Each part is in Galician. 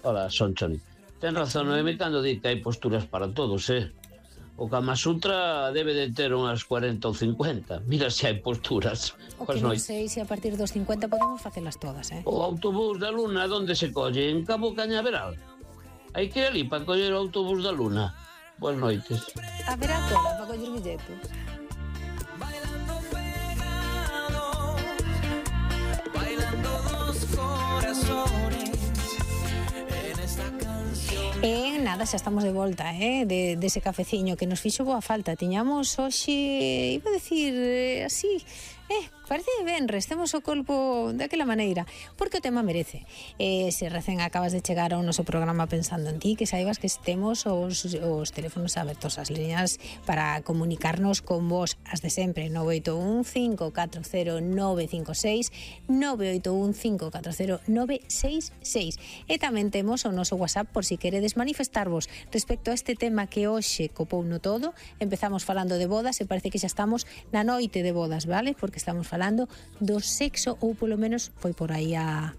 Ola, Sonchon. Ten razón, Noemi, cando di que hai posturas para todos, O Kama Sutra debe de ter unhas 40 ou 50. Mira se hai posturas. O que non sei se a partir dos 50 podemos facelas todas, O autobús da Luna, onde se colle? En Cabo Cañaveral. Hai que ir ali para coller o autobús da Luna. Boas noites. Haberá cola para coller billetes. Bailando pegado, bailando dos corazones en esta canción. Nada, xa estamos de volta, dese cafeciño que nos fixo boa falta. Tiñamos hoxe, iba a decir así, parece venres, temos o corpo daquela maneira, porque o tema merece. Se recén acabas de chegar ao noso programa pensando en ti, que saibas que temos os teléfonos abertos, as liñas para comunicarnos con vos, as de sempre, 981-540-956, 981-540-966. E tamén temos o noso WhatsApp por si queredes manifestarvos respecto a este tema que hoxe copou no todo. Empezamos falando de bodas e parece que xa estamos na noite de bodas, vale? Porque estamos falando do sexo, ou polo menos foi por aí a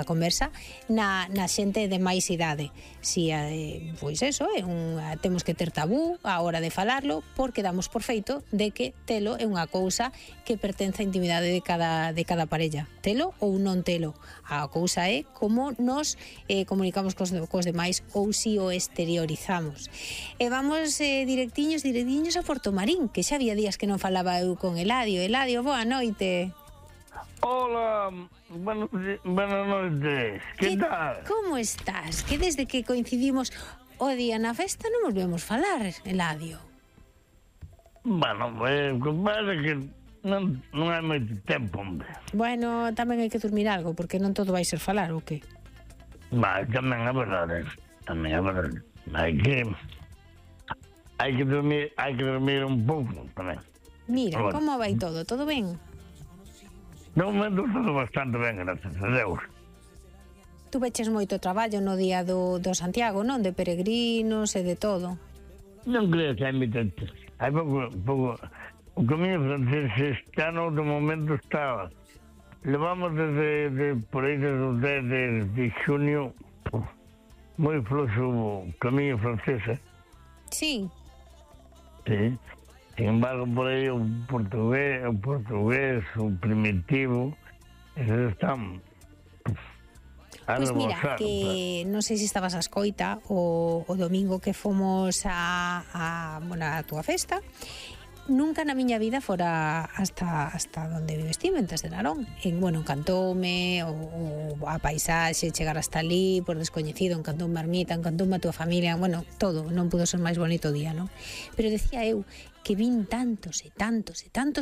conversa na xente de máis idade. Si, pois eso, temos que ter tabú a hora de falarlo, porque damos por feito de que telo é unha cousa que pertence á intimidade de cada parella. Telo ou non telo. A cousa é como nos comunicamos cos demais ou si o exteriorizamos. E vamos directiños a Portomarín, que xa había días que non falaba eu con Eladio. Eladio, boa noite. Hola, buenas noches. ¿Qué tal? Como estás? Que desde que coincidimos o día na festa non volvemos falar, Eladio. Bueno, pues compadre que non hai moito tempo, hombre. Bueno, tamén hai que dormir algo, porque non todo vai ser falar, ou que? Tamén é verdade. Hai que dormir un pouco tamén. Mira, como vai todo? Todo ben? No momento todo bastante ben, gracias a Deus. Tu veches moito traballo no día do Santiago, non? De peregrinos e de todo. Non creo que hai moito. Hai pouco. O camiño francés este ano de momento está. Levamos desde por aí desde de xunio moi fluxo o camiño francés, Sí. Sí. Sin embargo, por aí o portugués, o primitivo, esos están a Pois mira, rebosar. que non sei se estabas a escoita o domingo que fomos a túa festa. Nunca na miña vida fora hasta donde vives ti, Ventas de Narón. Encantoume a paisaxe, chegar hasta ali por descoñecido, encantoume a ermita, encantoume a túa familia, todo, non pudo ser máis bonito o día, non? Pero decía eu que vin tantos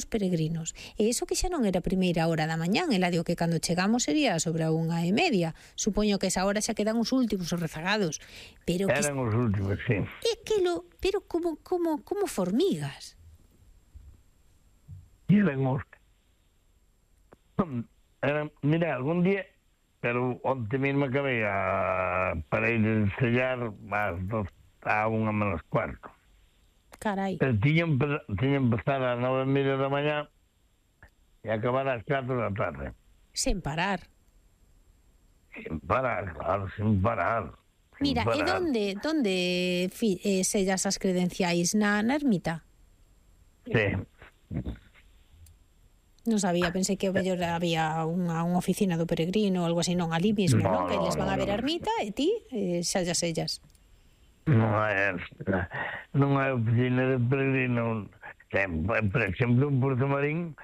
peregrinos, e iso que xa non era primeira hora da mañán, Eladio, que cando chegamos sería sobre a 1:30. Supoño que esa hora xa quedan os últimos, os rezagados. Pero eran os últimos, sí. Pero como formigas. Mira, algún día, pero onte mesmo acabei para ir a ensayar a 1:45. Carai. Tiña empezar a 9:30 da mañá e acabar ás 4 da tarde. Sen parar. Claro, sin parar. Mira, e donde sellas as credenciais? Na ermita? Sí. Non sabía, pensei que o mellor había unha oficina do peregrino ou algo así, non, ali mesmo, non? Que les van a ver a ermita e ti sellas. Non hai oficina de peregrino. Por exemplo, en Portomarín,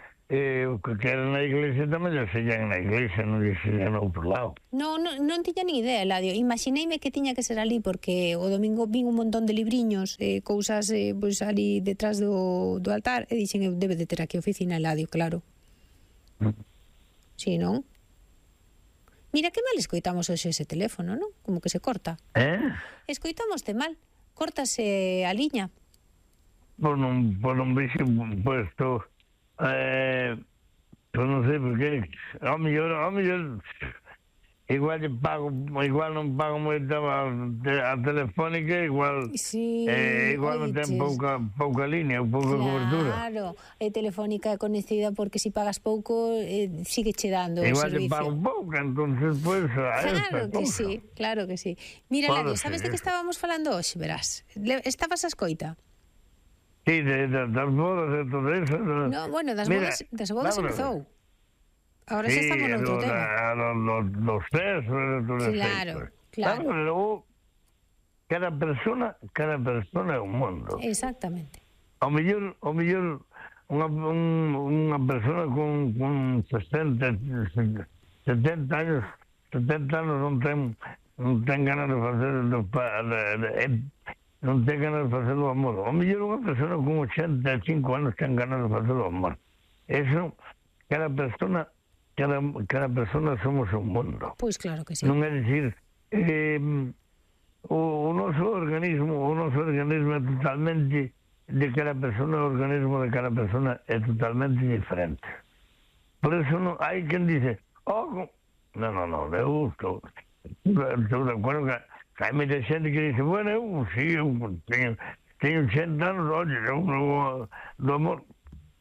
o que queren na iglesia tamén o sellan na iglesia, non o sellan no outro lado. Non tiña ni idea, Eladio. Imagineime que tiña que ser ali, porque o domingo vin un montón de libriños, cousas pois ali detrás do altar, e dixen, debe de ter aquí oficina, Eladio, claro. Sí, non? Mira que mal escoitamos hoxe ese teléfono, non? Como que se corta. Escoitamoste mal. Córtase a liña. Por un bicho puesto. Pues non sei por qué. A mellor igual non pago moito a telefónica, igual Sí, igual non ten pouca línea, pouca cobertura. Claro, Telefónica é conhecida porque si pagas pouco sigue che dando o Igual servicio. pago pouca, entonces pues Claro que sí. Mira, Pode Ladio, sabes de ser. que estábamos falando hoxe, verás? Estabas a escoita? Sí, das bodas e todo eso. No, bueno, das Mira, bodas vámonos. empezou. Ahora xa estamos noutro tema. Los sexos e todo eso. Claro. Luego, cada persona é un mundo. Exactamente. Ao mellor unha persona con 70 anos non ten ganas de facer non ten ganas de facer o amor. Ao mellor unha persona con 85 anos ten ganas de facer o amor. Eso, cada persona somos un mundo. Pois claro que sí. Non é dicir, o noso organismo é totalmente de cada persona, o organismo de cada persona é totalmente diferente. Por eso non hai quen dice, non, eu estou de acordo que hai moita xente que dice, bueno, eu teño 80 anos, oye, eu do amor,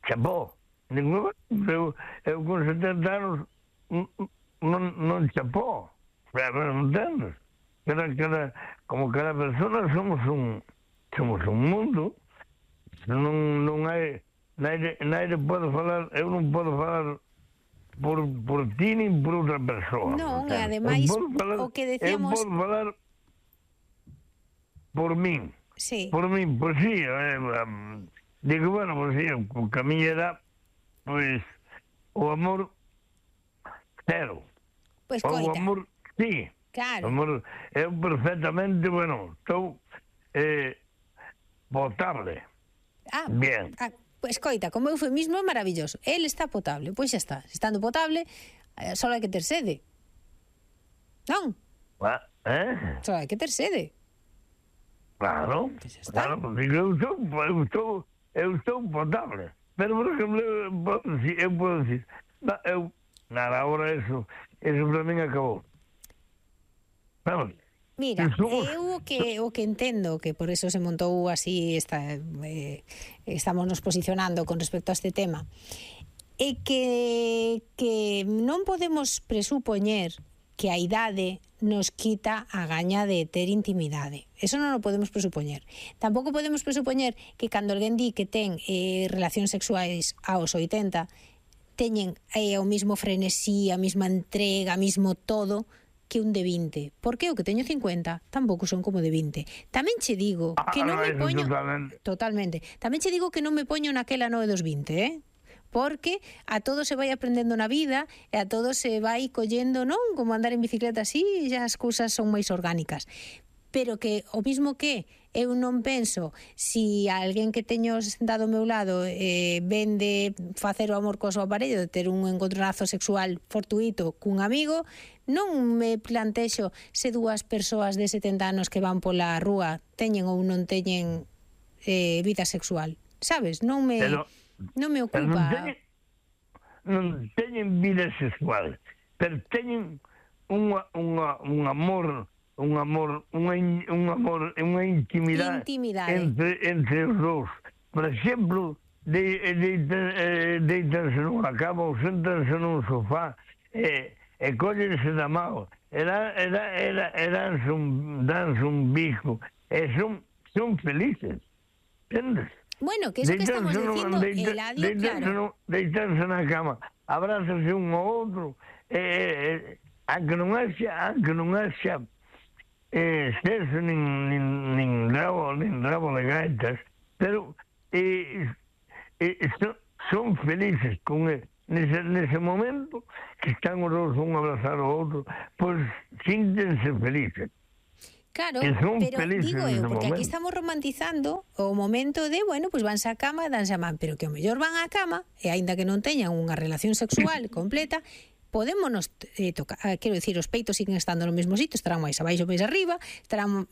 chapó, eu con 70 anos non chapó, non entendes? Como cada persona somos un mundo, non hai naide pode falar, eu non podo falar por ti nin por outra persoa. Non, e ademais o que decíamos... Eu podo falar por min. Sí. Por min, pois sí, digo, bueno, pois sí, o que a miña era, pois, o amor cero. Pois O coita. amor, sí. Claro. O amor, eu perfectamente, bueno, estou potable. Bien. Pois coita, como eufemismo é maravilloso. El está potable, pois xa está. Estando potable, só hai que ter sede. Non? Só hai que ter sede. Claro, Pois xa está. claro, porque eu estou potable. Pero, por exemplo, eu podo decir, nada, agora eso para min acabou. Vamos. Mira, eu o que entendo, que por eso se montou así, estamos nos posicionando con respecto a este tema, é que non podemos presupoñer que a idade nos quita a gaña de ter intimidade. Eso non o podemos presupoñer. Tampouco podemos presupoñer que cando alguén di que ten relacións sexuais aos 80 teñen o mismo frenesí, a mesma entrega, a mismo todo que un de 20. Porque o que teño 50 tampouco son como de 20. Tamén che digo que non me poño... Totalmente. Tamén che digo que non me poño naquela noe dos 20, porque a todo se vai aprendendo na vida e a todo se vai collendo, non? Como andar en bicicleta así, xa as cousas son máis orgánicas. Pero que o mismo que eu non penso si alguén que teño sentado ao meu lado ven de facer o amor co seu aparello, de ter un encontronazo sexual fortuito cun amigo, non me plantexo se dúas persoas de 70 anos que van pola rúa teñen ou non teñen vida sexual, sabes? Non me ocupa. Non teñen vida sexual, pero teñen un amor, unha intimidade entre os dous. Por exemplo, deitanse nunha cama ou sentanse nun sofá e collense da mão e danse un bico e son felices, entendes? Bueno, que eso que estamos dicindo, Eladio, claro. Deitanse na cama, abrázanse un ao outro, aunque non haxa sexo nin rabo de gaitas, pero son felices con nese momento que están os dous un abrazar ao outro, pois síntense felices. Claro, pero digo eu, porque aquí estamos romantizando o momento de, bueno, pois vanse á cama, danse a man, pero que o mellor van á cama, e aínda que non teñan unha relación sexual completa, podémonos tocar, quero dicir, os peitos siguen estando no mesmo sitio, estarán máis abaixo, máis arriba,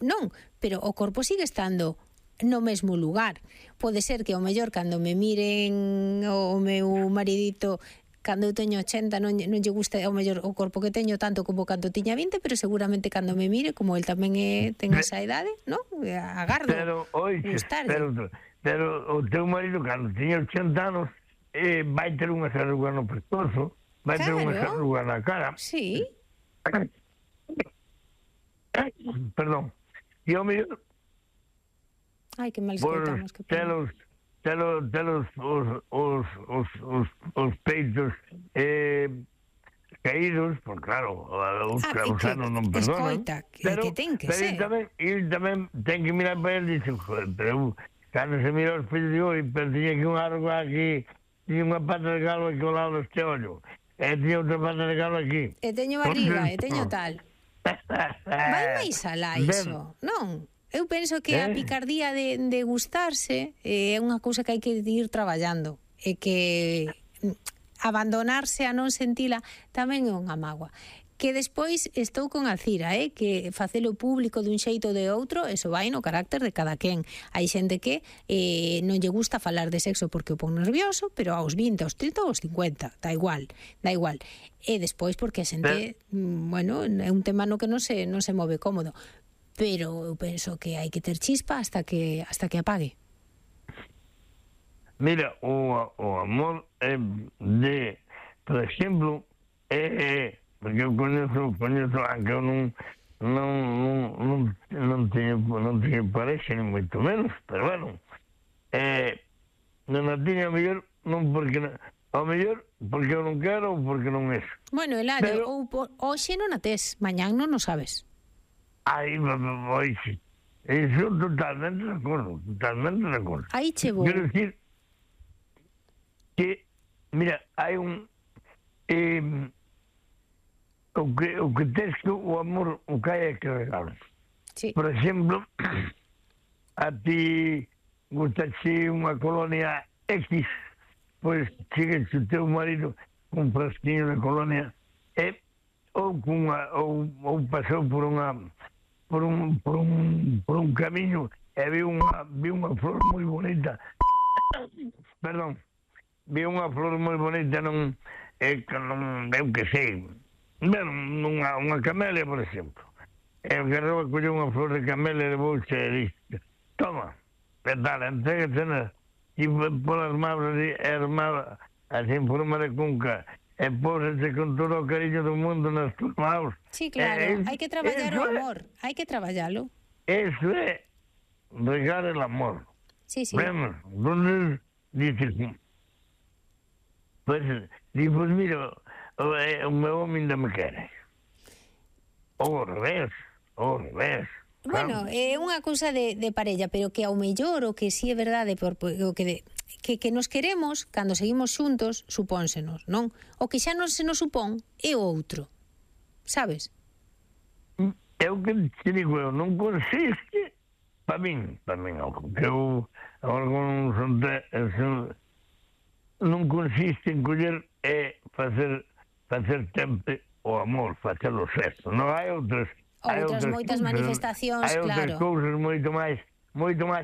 non, pero o corpo sigue estando no mesmo lugar. Pode ser que o mellor cando me miren o meu maridito cando eu teño 80 non lle gusta ao mellor o corpo que teño tanto como cando tiña 20, pero seguramente cando me mire, como el tamén ten esa idade, non? Agardo Pero, oixe, gustarlle. pero o teu marido, cando tiña 80 anos, vai ter unha arruga no pescozo, vai ter unha Claro. arruga na cara. Sí, Perdón. E ao mellor, ai, que mal por escoitamos, que pena. telos os peitos caídos, por claro, os anos non perdonan. Escoita, que ten que ser. Ele tamén ten que mirar para ele e dice, joder, pero cando se mira os peitos digo, pero tiña que unha arruga aquí, tiña unha pata de galo aquí ao lado deste ollo, e tiña outra pata de galo aquí. E teño barriga, e teño tal. Vai máis alá iso, non? Eu penso que a picardía de gustarse é unha cousa que hai que ir traballando e que abandonarse a non sentila tamén é unha mágoa. Que despois estou con Alcira, que facelo público dun xeito ou de outro, eso vai no carácter de cada quen. Hai xente que non lle gusta falar de sexo porque o pon nervioso, pero aos 20, aos 30 ou aos 50, da igual. E despois porque a xente, bueno, é un tema no que non se move cómodo. Pero eu penso que hai que ter chispa hasta que apague. Mira, o amor por exemplo, porque eu coñezo, aunque eu non teño parexa, ni moito menos, pero bueno, non a tiña ao mellor, non porque, ao mellor, porque eu non quero ou porque non é. Bueno, Eladio, hoxe non a tes, mañán non o sabes. Aí, oixe, eso totalmente de acordo, Aí che vou. Quero decir que, mira, hai un... o que tens que o amor o que hai é que regalo. Sí. Por exemplo, a ti gustache unha colonia X, pois chegas o teu marido con un frasquiño de colonia ou pasou por un camiño e vi unha flor moi bonita. Perdón. Vi unha flor moi bonita eu que sei, unha camelia, por exemplo. E o Garroba colleu unha flor de camelia de bolsa e dixo, toma, que tal, entrégatena, e polas mãos así en forma de cunca, e pósete con todo o cariño do mundo nas tuas mãos. Sí, claro, hai que traballar o amor, hai que traballalo. Eso é regar el amor. Sí, sí. Vemos, entonces dices, pues mira, o meu home ainda me quere. Ou ao revés. Bueno, é unha cousa de parella, pero que ao mellor o que si é verdade, o que nos queremos cando seguimos xuntos, supónsenos, non? O que xa non se nos supón é o outro. Sabes? É o que te digo eu, non consiste para min, que eu agora non consiste en coller e facer sempre o amor, facer o sexo. Non hai outras moitas manifestacións, hai outras claro. cousas moito máis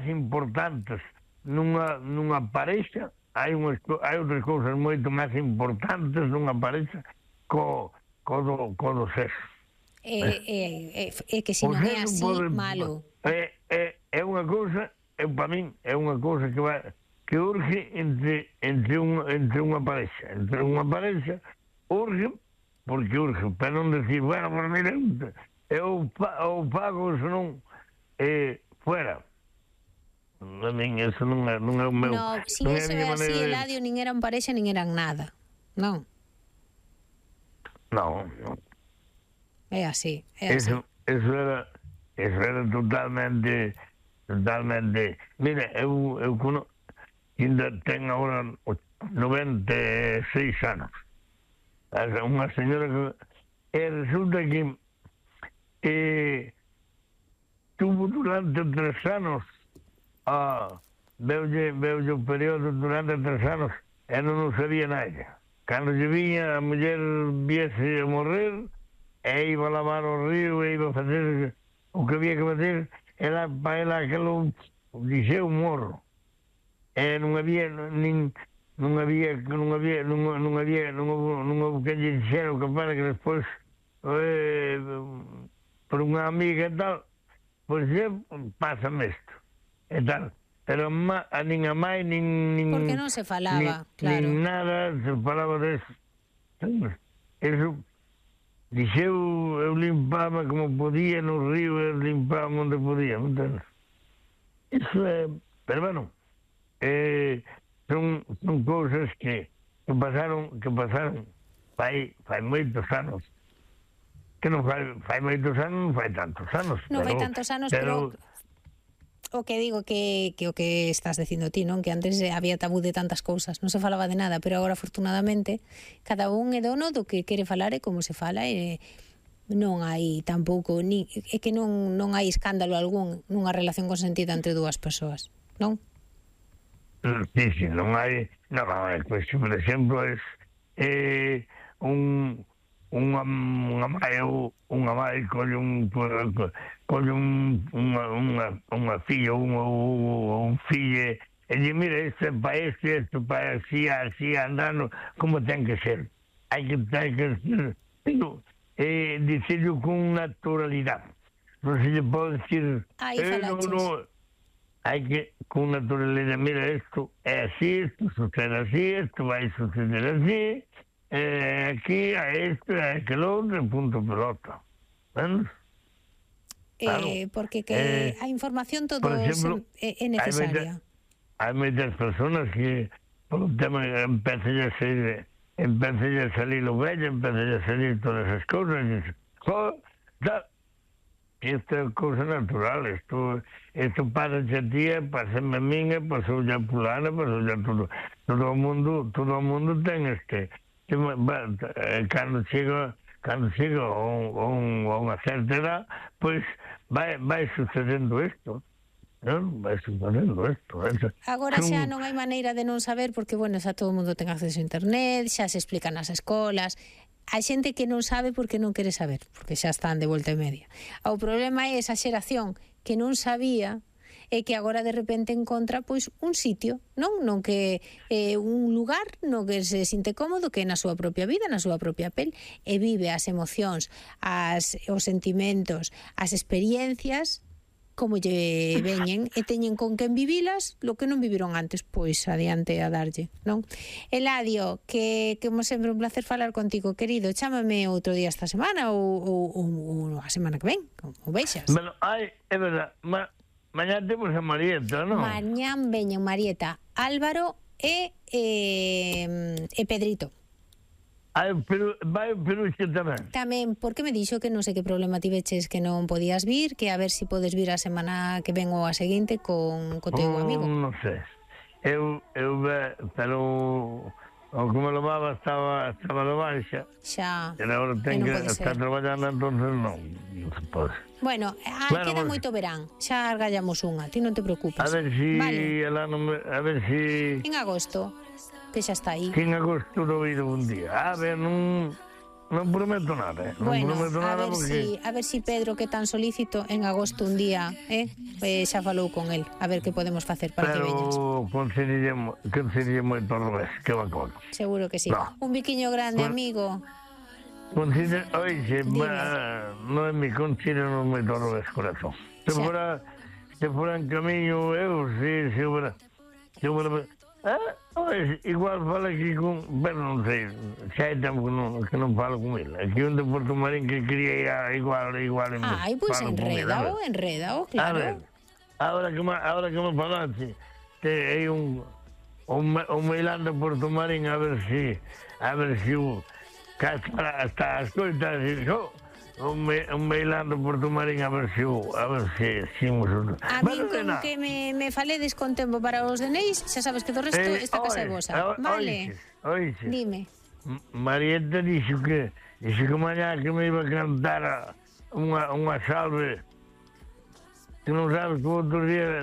importantes nunha parexa, hai outras cousas moito máis importantes nunha parexa co do sexo. É que se non é así, malo. É unha cousa, para min, é unha cousa que urge entre unha parexa. Entre unha parexa urge, porque urge, para non decir, bueno, por mira, eu pago, se non, fuera. A min, eso non é o meu... No, si eso é así, Eladio, nin eran parexa, nin eran nada. Non. Non. É así, Eso era totalmente... Mira, eu ainda ten agora 96 anos. Unha señora que resulta que tuvo durante 3 anos veulle o período durante 3 anos e non sabía nada. Cando lle viña a muller viese a morrer e iba a lavar o río e iba a facer o que había que facer, para ela aquilo dixeu morro. E non había nin non houve que lle dixera o que para que despois por unha amiga e tal, pois pásame isto e tal, pero nin a mai nin Porque non se falaba, claro. nin nada se falaba deso. Eso dixeu, eu limpaba como podía no río, eu limpaba onde podía, entendes? Iso é, pero bueno, son cousas que pasaron fai moitos anos, que non fai moitos anos, non fai tantos anos. Non fai tantos anos, pero o que digo que o que estás dicindo ti, non? Que antes había tabú de tantas cousas, non se falaba de nada, pero agora afortunadamente cada un é dono do que quere falar e como se fala, e non hai tampouco é que non hai escándalo algún nunha relación consentida entre dúas persoas, non? Sí, non hai, pois, por exemplo, unha mãe colle unha filla ou un fillo e di, mira, isto para así andando como ten que ser. Hai que dicirlo con naturalidade. Non se lle pode dicir hai que con naturalidade, mira, isto é así, isto sucede así, isto vai suceder así, aquí a isto, a aquel outro, punto pelota. ¿Ves? Claro. Porque a información todo exemplo, é necesaria. Hai moitas personas que por un tema empecé a salir o vello, empecé a salir todas as cousas, e isto é cousa natural, isto pasa a tía, pásame a minha, pasou a fulana, pasou a todo o mundo ten cando chega a unha certa edad, pois vai sucedendo isto. Vai sucedendo isto. Agora xa non hai maneira de non saber, porque, bueno, xa todo o mundo ten acceso a internet, xa se explica nas escolas. Hai xente que non sabe porque non quere saber, porque xa están de volta e media. O problema é esa xeración que non sabía e que agora de repente encontra pois un sitio, non que un lugar no que se sinte cómodo, que é na súa propia vida, na súa propia pel, e vive as emocións, os sentimentos, as experiencias como lle veñen e teñen con quen vivilas, lo que non viviron antes, pois adiante a darlle, non? Eladio, que como sempre un placer falar contigo, querido, chámame outro día esta semana ou a semana que ven, como veixas. Bueno, é verdad, mañá temos a Marieta, non? Mañán veñen Marieta, Álvaro e Pedrito. Pero vai o Peluche tamén. Tamén, porque me dixo que non sei que problema tiveches que non podías vir, que a ver se podes vir a semana que ven ou a seguinte con teu amigo. Non sei. Eu pero o que me levaba estaba no baixa. Xa. E agora ten que estar traballando, entonces non se pode. Bueno, queda moito verán. Xa argallamos unha, ti non te preocupes. A ver si ela non a ver si en agosto que xa está aí. Que en agosto do ido un día. A ver, non prometo nada, Bueno, prometo nada a ver si Pedro, que tan solícito, en agosto un día, xa falou con el, a ver que podemos facer para que veñas. Pero conseguiría moito ao revés, que bacón. Seguro que sí. No. Un biquiño grande, amigo. Oixe, non é mi considero moito ao revés, corazón. Se fora en camiño, eu, se fora... igual fala aquí con... Pero non sei, xa hai tempo que non falo con ele. Aquí un de Porto Marín que quería igual pois enredao, claro. Ahora que me falaste, hai un meilán de Porto Marín, a ver si hasta as coitas un meilán de Porto Marín, a ver si a mí con que me faledes con tempo para os denéis, xa sabes que do resto esta casa é vosa, vale? Oixe, dime. Marieta dixo que mañá que me iba a cantar unha salve, que non sabes que outro día